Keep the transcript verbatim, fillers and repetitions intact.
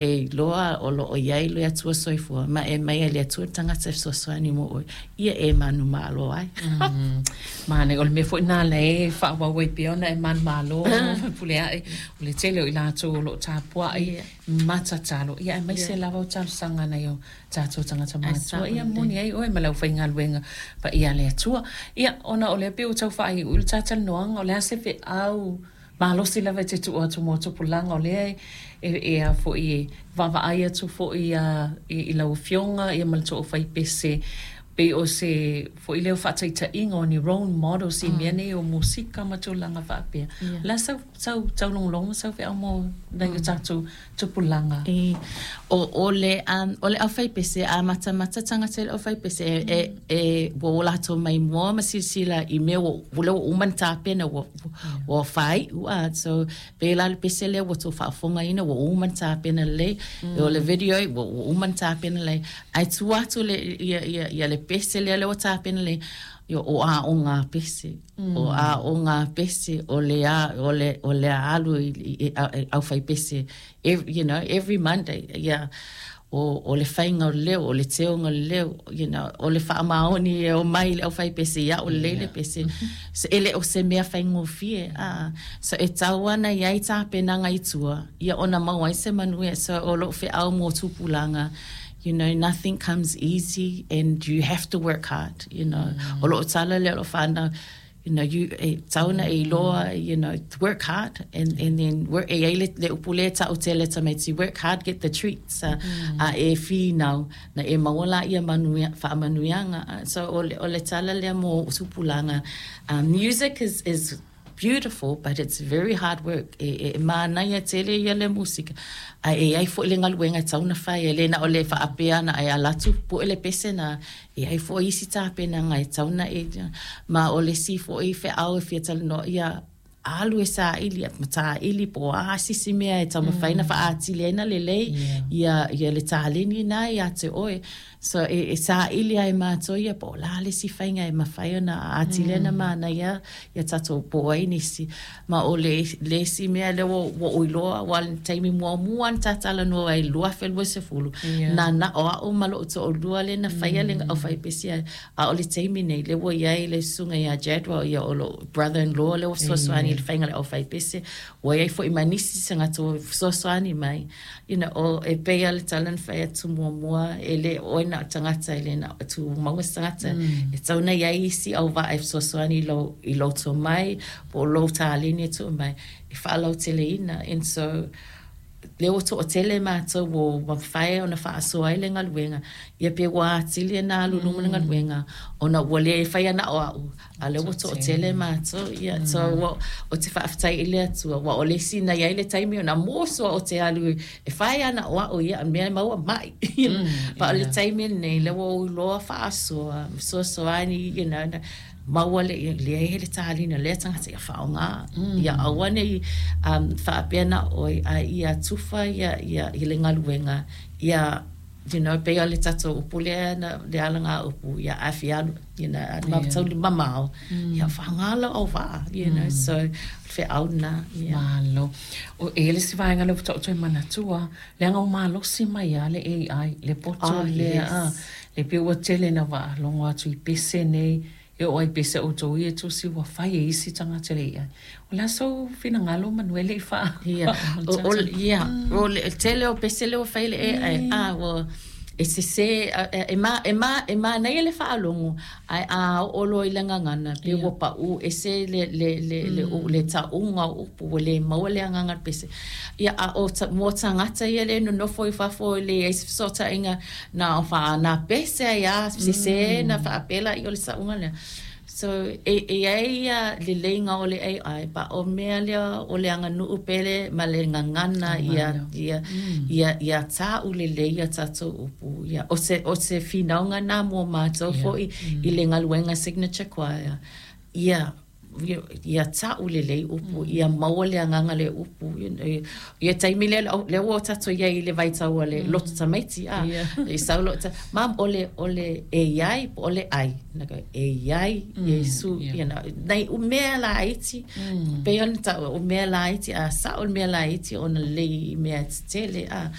E iloa o loo iai le Atua soifua ma e aumai e le Atua le tagata e fesoasoani mo oe ia e manumalo ai. Manaia, o le mea foi lena e faaauau ai pea ona e manumalo pule ae o le tele o i latou o loo tapuai ma tatalo, ia aemaise lava o talosaga nai o tatou tagata matutua. Ia moni ai oe ma le aufaigaluega paia a le Atua. Ia ona o lea pei ua tau faaiuiu le talatalanoaga, o le a se feau malosi lava e te tuu atu mo tupulaga o lea e e a foi e vaavaai atu foi a i lau afioga ia ma le toafaipese pei o se foi lea o faataitaiga o ni role models i mea nei o musika ma tulaga faapea. O le a sau sau taulogologo ma sau feau mo nai o tatou tupulaga? E, o, o le um, o le aufaipese, a matamata tagata i le aufaipese e, e, e ua o latou maimoa ma silasila i mea ua ua lea ua uma ona tapena ua ua faaiu a. So pei la le pese lea ua tou faafofogaina ua uma ona tapena lelei, o le video ua, ua uma ona tapena lelei, ae tua atu le ia, ia, ia le pese lea lea ua tapena lelei, ia, o aoga pese, o aoga pese, o le a, o le o le alu i, i, i, i aufaipese every, you know every Monday, yeah, o, o le faiga o le leo, o le teoga o le leo, you know, o le faamaoni e o mai le aufaipese ia o lelei le pese. So, e le o se mea faigofie. Ah, so e tau ana i ai tapenaga i tua, ia ona maua ai se manuia. So o lou feau mo tupulaga, you know, nothing comes easy and you have to work hard, you know. O loo tala lea o loo whanau, you know, you, e tauna e iloa, you know, work hard and, and then work, e ai le, le upu lea ta'u tele tamaiti, "Work hard, get the treats." Uh, mm. A e finau, na e maua la ia manuia, faamanuiaga. Uh, so o le, o le tala lea mo tupulaga. Um, music is, is beautiful, but it's very hard work. E, e manaia tele ia le musika. A e ai foi le galuega e tau na fai, e le na o le faapea na e ala atu pue le pese na, e ai foi isi tapenaga e tau na e, ma o le si foi feau e fia talanoa, ia alu e saili, ma tāili po o a sisi mea e taumafai na faaatili ai na lelei ia, ia le taleni na ia te oe. So e, e saili ai mātou ia po o la le si faiga e mafai ona atili ai na manaia ia tatou po o ai nisi. Ma o le, le isi mea lea ua, ua ou iloa, ua le taimi muamua na tatalanoa ai lua afe lua sefulu. Yeah. Na na o au ma lou toalua le na faia le aufaipese ai. A o le taimi nei, lea ua iai le susuga ia Jadwell, ia o lou brother-in-law lea ua fesoasoani i le faiga o le aufaipese. Ua iai foi ma nisi tagata ua fesoasoani mai. You know, o e pei lava le tala na fai atu muamua, e le o oe na o tagata, e le na o tumau se tagata. E tau na iai isi auvaa e fesoasoani i lou, i lou tomai, po o lou taleni e tuu mai, e faalauteleina. And so, lea ua toatele matou ua mafai ona faasoa ai le galuega, ia pe ua atili na alu i luma le galuega, ona ua le faia na o au, a lea ua toatele matou. Ia, so ua, o te faafetai i le Atua, ua o le isi na iai le taimi ona mua sua o te alu e fai ana o au ia mea e maua mai. Pa o le taimi lenei, lea ua ou iloa faasoa, fesoasoani, you know, na, maua le leai le taleni o lea tagata ia faaaoga. Ia aua nei um, faapea na oe, a ia tufa ia, ia, i le galuega, ia, you know, pei o le tatou upu lea na, le alaga upu, ia afi alu, you know, ma Yeah. tauli mamao, ia faaaoga lau auvaa, you know, so feau na, yeah. Malo. O e le si vaega le faatoa toe manatua, leaga o malosi mai a le A I, le poto Oh, lea. yes. Ah, le pei ua tele na faalogo atu i pese nei, e oo ai pese outou ia tusi ua fai e isi tagata le A I. O le a sou finagalo Manuele i faa? Ia, o, o, ia, o le tele o pese lea ua fai le A I, ah, ua, e sese, e, e, ma, e, ma, e manaia le faalogo, ae a oo loa i le gagana, pe ua pau ese le, le, le, le, le, le tauga o upu, ua le maua le agaga o le pese. Ia, a o ta, mo tagata ia le nonofo i fafo e leai se fesootaiga, na o faana pese ai a, sese na faapela i o le sauga lea. So, e, e ai ia leleiga o le A I, pa o mea lea o le aganuu pele ma le gagana ia, ia, ia, ia ta'u lelei ia tatou upu. Ia, o se, o se finauga na mo matou Yeah. foi i le galuega Signature Choir. Ia, Ia ta'u lelei upu, ia maua le agaga le upu ia taimi lea lea ua tatou i ai i le vaitau o le loto tamaiti a i sau lo mam o le o le e iai po o le ai e iai Iesu you know nai o mea laiti pei ona ta'u o mea laiti a sa'o le mea laiti ona lelei i mea tetele a.